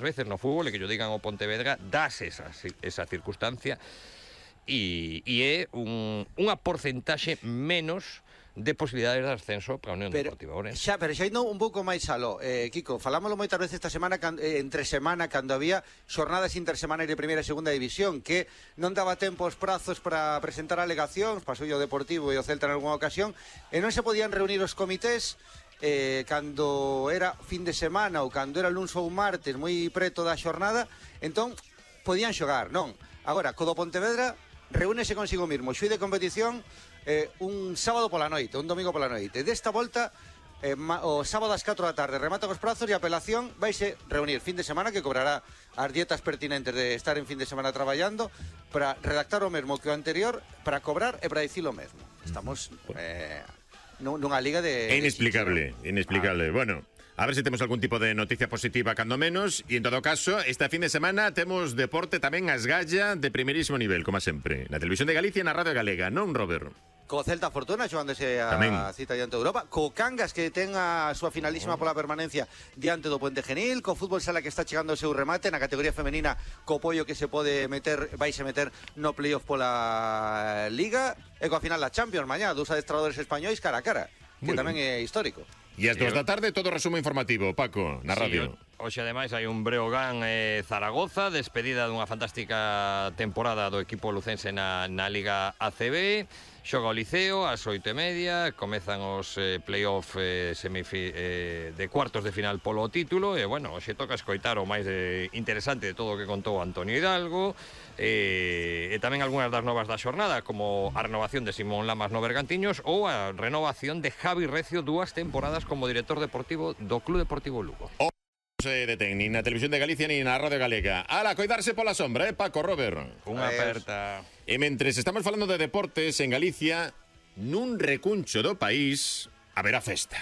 veces no fútbol, e que yo digan o Pontevedra, dase esa circunstancia, e é unha porcentaxe menos de posibilidades de ascenso para a Unión Deportiva Ourense. Pero xa indo un pouco máis aló, Kiko, falámoslo moitas veces esta semana, entre semana, cando había xornadas intersemana de primeira e segunda división, que non daba tempo os prazos para presentar alegacións, pasou o Deportivo e o Celta en algunha ocasión, e non se podían reunir os comités cando era fin de semana ou cando era luns ou martes moi preto da xornada, entón podían xogar, non? Agora, co do Pontevedra reúnese consigo mesmo, xuí de competición, un sábado pola noite, un domingo pola noite. Desta volta, o sábado ás 4 da tarde, remata cos prazos e a apelación vaise reunir fin de semana, que cobrará as dietas pertinentes de estar en fin de semana traballando, para redactar o mesmo que o anterior, para cobrar e para dicir o mesmo. Estamos nunha liga de... É inexplicable, inexplicable. Bueno, a ver se temos algún tipo de noticia positiva cando menos, e en todo caso, esta fin de semana temos deporte tamén a esgalla de primeirísimo nivel, como sempre, na Televisión de Galicia e na Radio Galega, non, Robert? Co Celta Fortuna xogándose a cita diante de Europa, co Cangas que ten a súa finalísima pola permanencia diante do Puente Genil, co Fútbol Sala que está chegando o seu remate na categoría femenina, co Pollo que se pode meter, vaise meter no playoff pola Liga, e coa final da Champions mañá, dos adestradores españois cara a cara, que tamén é histórico. E as 2 da tarde todo resumo informativo, Paco, na radio. Hoxe ademais hai un Breogán Zaragoza, despedida dunha fantástica temporada do equipo lucense na Liga ACB. Xoga o Liceo ás 8:30, comezan os play-off de cuartos de final polo título, e bueno, hoxe toca escoitar o máis interesante de todo o que contou Antonio Hidalgo, e tamén algunhas das novas da xornada, como a renovación de Simón Lamas no Bergantiños ou a renovación de Javi Recio, 2 temporadas como director deportivo do Club Deportivo Lugo. Se detén nin na Televisión de Galicia nin na Radio Galega. Ala, coidarse pola sombra, Paco, Robert? Unha aperta. E mentres estamos falando de deportes en Galicia, nun recuncho do país haberá festa.